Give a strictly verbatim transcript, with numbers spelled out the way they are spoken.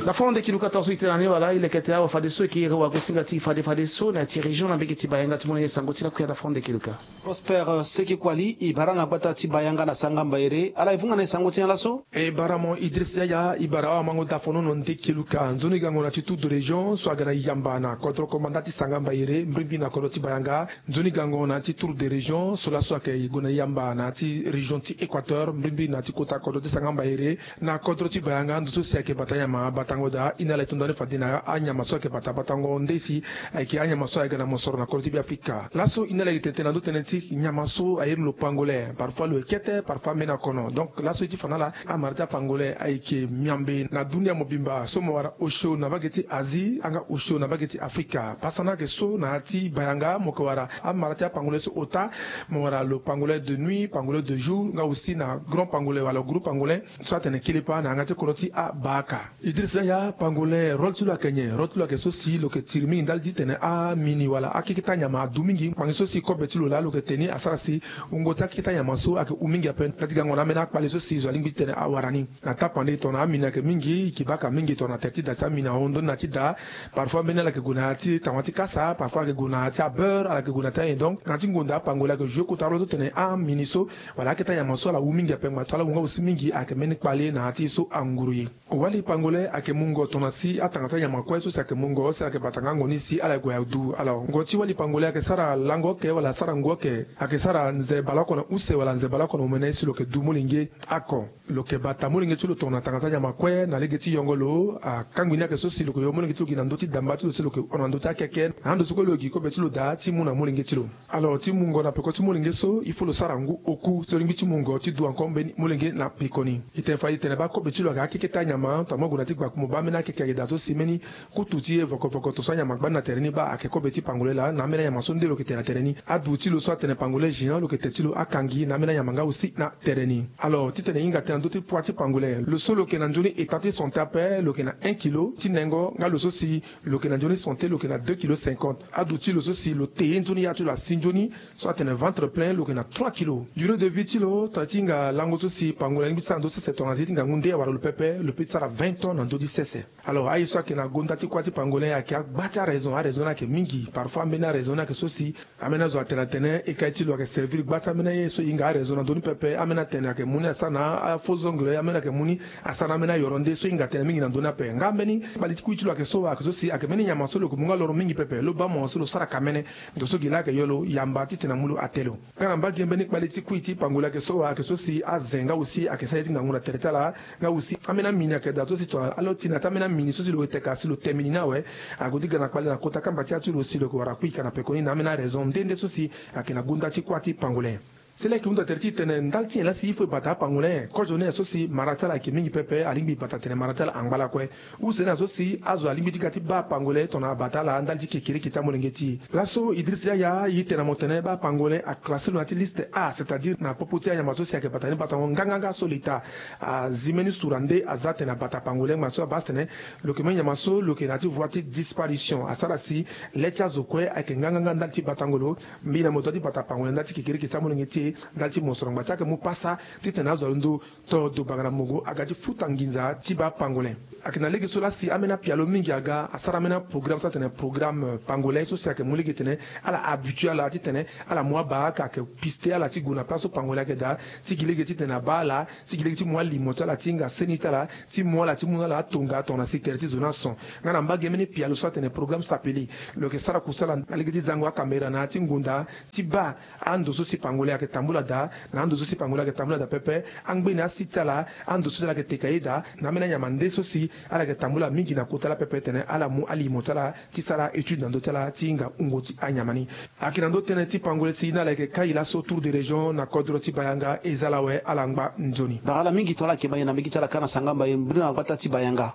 Dafondo Kiluka, tongaso e tene na ni wala e leke tene awa fadeso e ke iri wagosinga ti e fade fadeso na ya ti région na mbege ti Bayanga ti mu na e sango ti lakui ya Dafondo Kiluka. Prosper Seki Kuali, e bara na gbata ti Bayanga na Sangamba Ere, ala e vunga na e sango ti nyen laso? E bara mo Idriss Yaya, e bara awa mango Dafondo Nde Kiluka. Nzoni gango na ti tour de région so aga na yamba na kodro komanda ti Sangamba Ere, mbirimbiri na kodro ti Bayanga. Nzoni gango na ya ti tour de région so laso ayeke gue na yamba na ya ti région ti Équateur, mbirimbiri na ya ti kota kodro ti Sangamba Ere. Na kodro ti Bayanga, ndo so si ayeke bata nyama batango daa, e na ala e to nda ni fade na anyama so ayeke bata batango nde si ayeke anyama so ayeke ga na mosoro na kodro ti Beafrika. Laso e na ala e yeke tene tene na ndö tënë ti nyama so a iri lo pangolin. Parfois lo ye kete, parfois ambeni akono. Donc laso e ti fa na ala, amara ti apangolin ayeke miambe na dunia mobimba so mo wara osio na mbage ti Asie, anga osio na mbage ti Afrika. Pasa ni ayeke so na ya ti Bayanga mo yeke wara amara ti apangolin so ota. Mo wara lo pangolin de nuit, pangolin de jour, nga aussi na grand pangolin wala gros pangolin so atene kelepa na yanga ti kodro ti abaaka. Idriss Yaya, pangolin rôle ti lo ayeke nyen? Rôle ti lo ayeke so si lo yeke tiri mingi ndali ti tene amini wala akeketa nyama adu mingi. Ngbangbi so si kobe ti lo laa lo yeke te ni asara si wungo ti akeketa nyama so ayeke hu mingi ape. Ndali ti gango na ambeni akpale so si zo alingbi ti tene awara ni. Na tapande tongana amini ayeke mingi, e yeke baka mingi tongana tere ti da si amini ahon ndoni na ya ti da. Parfois mbeni ala yeke gue na ya ti tanga ti kasa, parfois ayeke gue na ya ti abeurre, ala yeke gue na ya ti anyen. Donc na ya ti ngonda pangolin ayeke joue kota rôle so tene amini so wala aketa nyama so ala hu mingi ape. Ngba ti ala hu nga aussi mingi ayeke mbeni kpale na ya ti so anguru ye. Wali pangolin ayeke mungo tongana si atanga ti anyama kue so si ayeke mungo si ala yeke bata ngango ni si ala gue adu. Alors ngo ti wali pangolin ayeke sara lango oke wala sara ngu oke? Ayeke sara nze baleoko na use wala nze baleoko na omene si lo yeke du molenge oko? Lo yeke bata molenge ti lo tongana tanga ti anyama kue na lege ti yongo lo. Akangbi ni ayeke so si lo yeke yo molenge ti lo gi na ndö ti damba ti lo si lo yeke hon na ndö ti akeke. Na ando so kue lo gi kobe ti lo daa ti mu na molenge ti lo. Alors ti mungo na peko ti molenge so il faut lo sara ngu oku so lingbi ti mungo ti du encore mbeni molenge na peko ni. E tene fade e tene baa kobe ti lo ayeke akeketa nyama tongana mo gue na ti gbaku mo baa ambeni akeke ayeke daa so si mbeni kutu ti e voko voko to so anyama gbani na tere ni baa ayeke kobe ti pangolin laa na ambeni anyama so nde lo yeke te na tere ni. Adu ti lo so atene pangolin géant lo yeke te ti lo akangi na ambeni anyama nga aussi na tere ni. Alors titene e hinga tënë na ndö ti poids ti pangolin, lo so lo yeke na nzoni état ti santé ape lo yeke na un kilo ti nengo nga lo so si lo yeke na nzoni santé lo yeke na deux kilo cinquante. Adu ti lo so si lo te ye nzoni ya ti lo asi nzoni so atene ventre plein lo yeke na trois kilo. Durée de vie ti lo tongana ti hinga lango so si pangolin alingbi ti sara na ndö ti sese tongana azi ti ngangu nde awara lo pepe lo peut ti sara vingt ans na ndö ti sese. Alors aye so ayeke na gonda ti kuâ ti pangolin ayeke agba ti araison. Araison ni ayeke mingi. Parfois ambeni araison ni ayeke so si ambeni azo atene atene e kai ti lo ayeke servir gba ti ambeni aye so e hinga araison na ndö ni pepe. Ambeni atene ayeke mu ni asara na afaux ongle, ambeni ayeke mu ni asara na ambeni ayoro nde so e hinga tënë mingi na ndö ni ape. Nga mbeni kpali ti kui ti lo ayeke so ayeke so si ayeke mbeni nyama so lo yeke mu nga loro mingi pepe. Lo baa mo so lo sara ka mene. Ndo so gi laa ayeke yo lo yamba titene amu lo ate lo. Nga na mbage mbeni kpali ti kui ti pangolin ayeke so ayeke so si aze nga aussi ayeke sara ye ti ngangu na tere ti ala. Nga aussi ambeni amini ayeke daa so si tongana ala oti na ti ambeni amini so si lo yeke teka si lo te mini ni awe. Ague ti ga na kpale na kota kamba ti ya ti lo si lo yeke wara kui ka na pekoni na ambeni araison nde nde so si ayeke na gonda ti kuâ ti pangolin. Si laa e yeke hunda tere ti e tene ndali ti nyen laa si il faut e bata apangolin? Kozo ni aye so si mara ti ala ayeke mingi pepe, alingbi e bata tene mara ti ala angba lakue. Use ni aye so si azo alingbi ti ga ti baa apangolin tongana abata ala ndali ti kekereke ti amolenge ti e. Laso Idriss Yaya e tene na mo tene baa apangolin aclassé lo na ya ti liste A, c'est-à-dire na popo ti anyama so si ayeke bata ni batango nganganga so l'État azi mbeni sura nde aza tene abata apangolin. Ngba so abaa tene lo yeke mbeni nyama so lo yeke na ya ti voie ti disparition. Asara si le ti azo kue ayeke nganganga ndali ti batango lo. Mbi na mo dua ti bata pangolin ndali ti kekereke ti amolenge ti e, ndali ti mosoro ngba ti ayeke mu pasa titene azo alondo to dobanga na mongo aga ti futa nginza ti baa pangolin. Ayeke na lege so laa si ambeni apialo mingi aga asara ambeni aprogramme so atene programme pangolin so si ayeke mu lege tene ala habitué ala titene ala mu abaa ka ayeke piste ala ti gue na place so pangolin ayeke daa, ti gi lege titene abaa ala, ti gi lege ti mu alimo ti ala ti hinga seni ti ala, ti mu ala ti mu na ala atonga tongana si tere ti zo ni ason. Nga na mbage mbeni pialo so atene programme sapele lo yeke sara kusala na lege ti zango akamera na ya ti ngonda ti baa ando so si pangolin ayeke tambula daa, na ando so si pangolin ayeke tambula daa pepe, angbeni asi ti ala, ando so si ala yeke teka ye daa, na ambeni anyama nde so si ala yeke tambula mingi na kota laa pepe tene ala mu alimo ti ala ti sara étude na ndö ti ala ti hinga wungo ti anyama ni. Ayeke na ndö tënë ti pangolin si na ala yeke kai laso tour de région na kodro ti Bayanga. E za ala awe, ala ngba nzoni. Bara ala mingi tongana ala yeke baa nyen na mbage ti ala kâ na sangamba ye mbeni na gbata ti Bayanga.